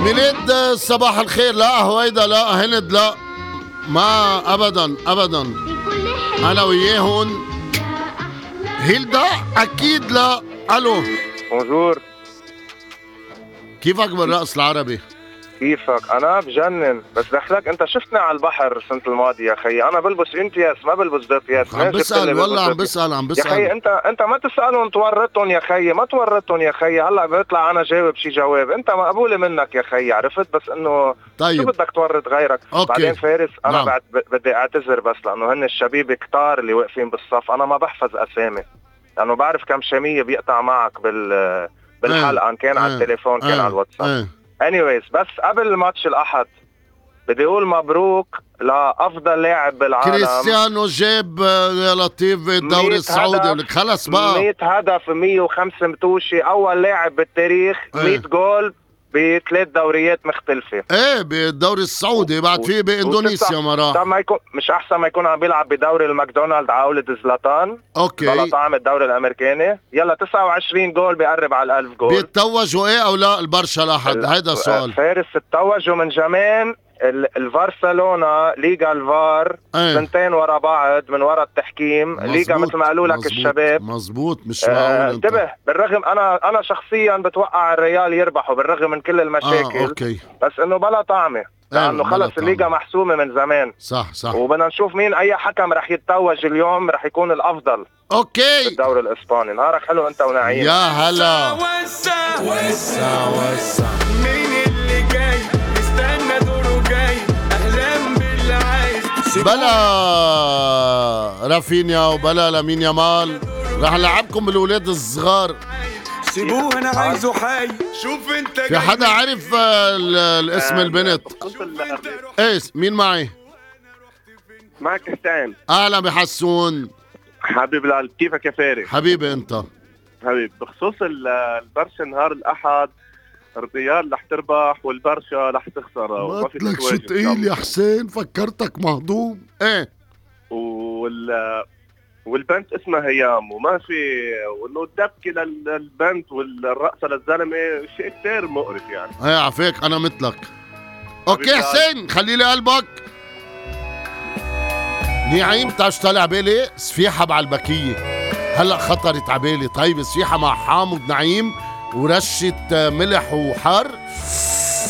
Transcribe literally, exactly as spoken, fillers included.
ميلاد صباح الخير. لا هويدا لا هند لا ما ابدا ابدا انا وياهن. هيلدا اكيد لا. الو بونجور، كيفك بالرقص العربي؟ كيفك؟ انا بجنن، بس دخلك انت شفتني على البحر السنه الماضيه يا خيي، انا بلبس انتياس ما بلبس دوتياس. عم بسأل والله عم بسأل عم بسأل يا خيي. انت انت ما تسالهم تورطهم يا خيي، ما تورطهم يا خيي. هلا بيطلع انا جاوب شي جواب، انت مقبوله منك يا خيي، عرفت؟ بس انه طيب. شو بدك تورط غيرك؟ أوكي. بعدين فارس انا نعم. بعد بدي اعتذر بس لانه هن الشبيب كتار اللي واقفين بالصف، انا ما بحفظ اسامي لانه بعرف كم شميه بيقطع معك بال بالحلقه، ان كان على التليفون كان على الواتساب. anyways بس قبل ماتش الأحد بدي أقول مبروك لأفضل لاعب بالعالم. كريستيانو جاب يا لطيف الدوري السعودي. ولك خلص بقى مية هدف مية وخمسة متوشي، أول لاعب بالتاريخ مية جول بثلاث دوريات مختلفة. ايه بالدوري السعودي بعد فيه باندونيسيا ما راح. طب ما يكون مش أحسن ما يكون عم بيلعب بدوري الماكدونالد على قولة زلاتان؟ اوكي بلا طعم الدوري الأمريكاني. يلا تسعة وعشرين جول بيقرب على الألف جول. بيتوجوا ايه أو لا البرشا الأحد؟ هيدا السؤال. فارس التوجوا من زمان. البرشلونة ليغا الفار ايه. سنتين ورا بعض من ورا التحكيم. ليغا مثل ما قالوا لك الشباب. مزبوط مش معقول. انتبه آه بالرغم انا انا شخصيا بتوقع الريال يربحوا بالرغم من كل المشاكل. آه، أوكي. بس انه بلا طعمه لانه ايه خلص الليغا محسومه من زمان. صح صح. وبدنا نشوف مين اي حكم رح يتوج اليوم رح يكون الافضل. اوكي بالدوري الاسباني. نهارك حلو انت ونعيم. يا هلا. وسع وسع وسع مين اللي جاي استنى دوره جاي احلام باللي عايز. بلا رافينيا وبلا لامين يامال رح نلعبكم بالولاد الصغار. سيبوه انا عايزه حي. شوف انت في حدا عارف الاسم البنت؟ ايه مين معي؟ معك حسين. اهلا بحسون. حبيب القلب، كيفك يا فارس؟ حبيبي انت. حبيب بخصوص البرشا نهار الاحد الريال رح تربح والبرشا رح تخسر. ما لك شو تقيل يا حسين، فكرتك مهضوم. ايه وال والبنت اسمها هيام وما في وانه الدبكه للبنت والرقصه للزلمه شيء كثير مقرف يعني. ايه عفيك انا مثلك. اوكي حسين خلي لي قلبك. نعيم تعش طالع بالي سفيحه بعلبكيه هلا خطرت عبالي. طيب سفيحه مع حامض نعيم ورشه ملح وحار